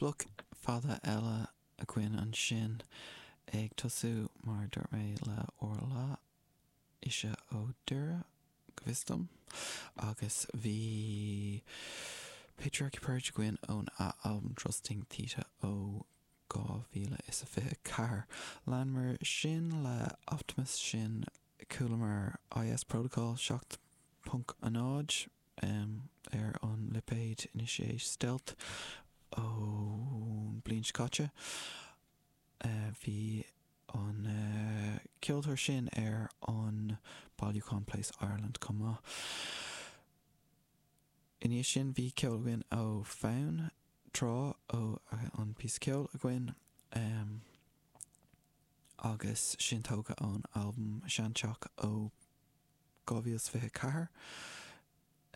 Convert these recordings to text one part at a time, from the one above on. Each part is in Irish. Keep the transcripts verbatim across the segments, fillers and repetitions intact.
Bloc fada eile againn ansin ag tosú mar dúirt mé le Orla ise ó Doire go bhfios dom agus bhí Patriarchy Purge againn ón albam Trusting Theta ó dhá mhíle is a fiche ceathair. Leanamar sin le Optimus sin chualamar IS Protocol seacht ponc a náid um, ar an lipéad Initiate Stealth ón bliain caite. Uh, bhí an uh, ceoltóir sin ar an bailiúchán Place Ireland chomh maith. Inis sin bhí ceol againn ó Fonn Trá ó an píosa ceoil againn um, agus sin tógtha ón albam Seanteach ó dhá mhíle fiche ceathair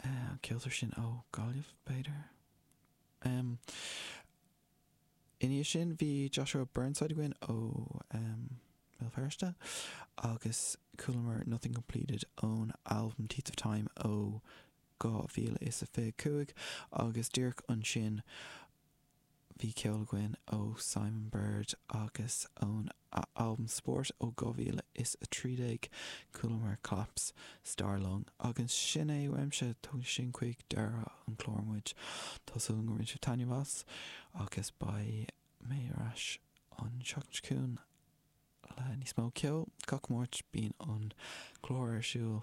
uh, ceoltóir sin ó Gaillimh b'fhéidir. Um, Inis sin bhí Joshua Burnside againn ó um, Béal Feirste agus chualamar Nothing Completed ón album Teeth of Time ó dhá mhíle is a fiche cúig agus díreach ansin bhí ceol againn ó Simon Bird agus ón album Sport ó dhá mhíle is a trí déag chualamar Collapse Starlung agus sin é uaimse tugann sin chuig deireadh an chlár muid Tá súil go raibh sibh taitneamh as agus beidh mé ar ais an seachtain chugainn le níos mó ceol gach Máirt bíonn an clár ar siúl